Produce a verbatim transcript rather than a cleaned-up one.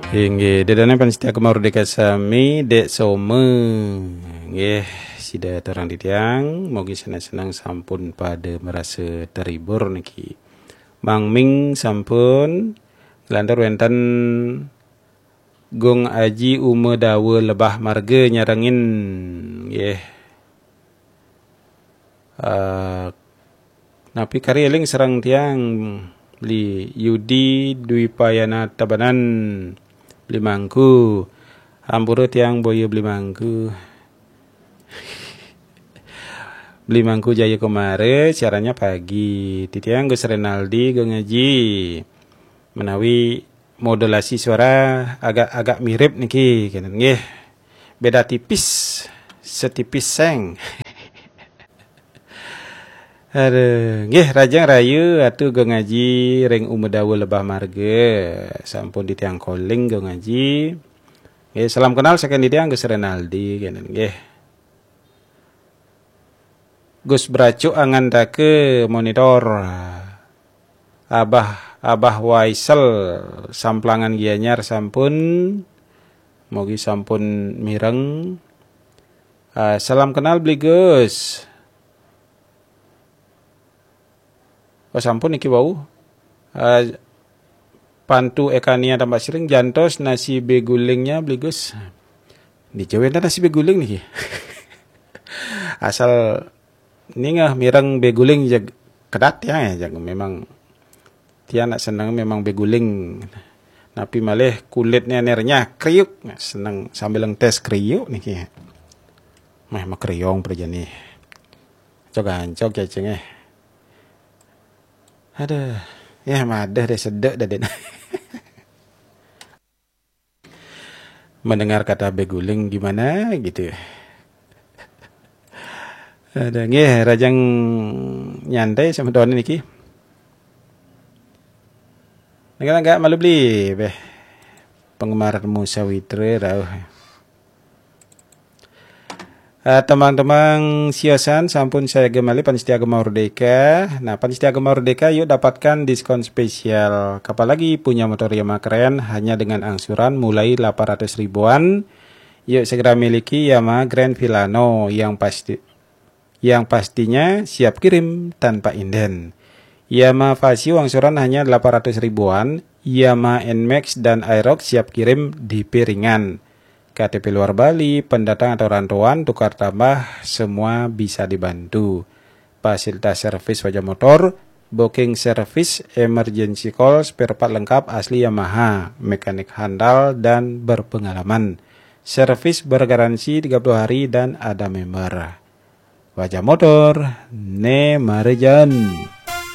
Inggih, ida dané pamiarsa Gema Merdeka sami, Dék Soma. Inggih, sida aturang titiang, mugi seneng-seneng sampun pada merasa terhibur niki. Mang Ming sampun, nglantur wénten Gung Aji Uma Dawa Lebah Marga nyarengin. Inggih. Eh, napi kari éling sareng tiang, Beli Yudi Dwipayana Tabanan, Beli Mangku. Ampura tiang boya Beli Mangku. Beli Mangku Jaya Komara, siarannya pagi. Titiang Gus Renaldi, Gung Aji. Menawi modulasi suara agak-agak mirip niki, kenten nggih. Beda tipis, setipis seng. Aduh, nggih, Rajang Rayu, Atu Gung Aji ring Uma Dawa Lebah Marga. Sampun titiang calling, Gung Aji. Nggih, salam kenal saking titiang Gus Renaldi, kenten nggih. Gus Bracuk Angantaka monitor. Abah, Abah Waisel Samplangan Gianyar sampun, mugi sampun mireng. Ah, salam kenal Beli Gus. Oh, sampun niki wau. Ah, Pantu Ekania Tambak Siring, jantos nasi begulingnya Beli Gus. Di Jawa enten nasi beguling niki. Asal ningeh mireng beguling jeg kedat ya, jeg memang tiang nak seneng memang beguling. Napi malih kulitnya nernya kriuk, seneng sambil ngentes kriuk niki. Meh makriung prajani. Cog ancog cacing eh. Aduh, ya madah deh sedek dah den. Mendengar kata beguling gimana gitu. Ada nggih, Rajang nyantai sama Don niki. Enggak, enggak malu beli beh. Penggemar Musa Witra rauh. Eh, temang-temang siosan sampun saya gemali Panitia Gema Merdeka. Nah, Panitia Gema Merdeka yuk dapatkan diskon spesial. Kapan lagi punya motor Yamaha keren hanya dengan angsuran mulai delapan ratus ribuan. Yuk segera miliki Yamaha Grand Filano yang pasti yang pastinya siap kirim tanpa inden. Yamaha Fazzio angsuran hanya delapan ratus ribuan, Yamaha Nmax dan Aerox siap kirim di piringan. K T P luar Bali, pendatang atau rantauan, tukar tambah, semua bisa dibantu. Fasilitas servis wajah motor, booking service, emergency call, spare part lengkap asli Yamaha, mekanik handal dan berpengalaman. Servis bergaransi tiga puluh hari dan ada member. Wajah motor, ne marejan.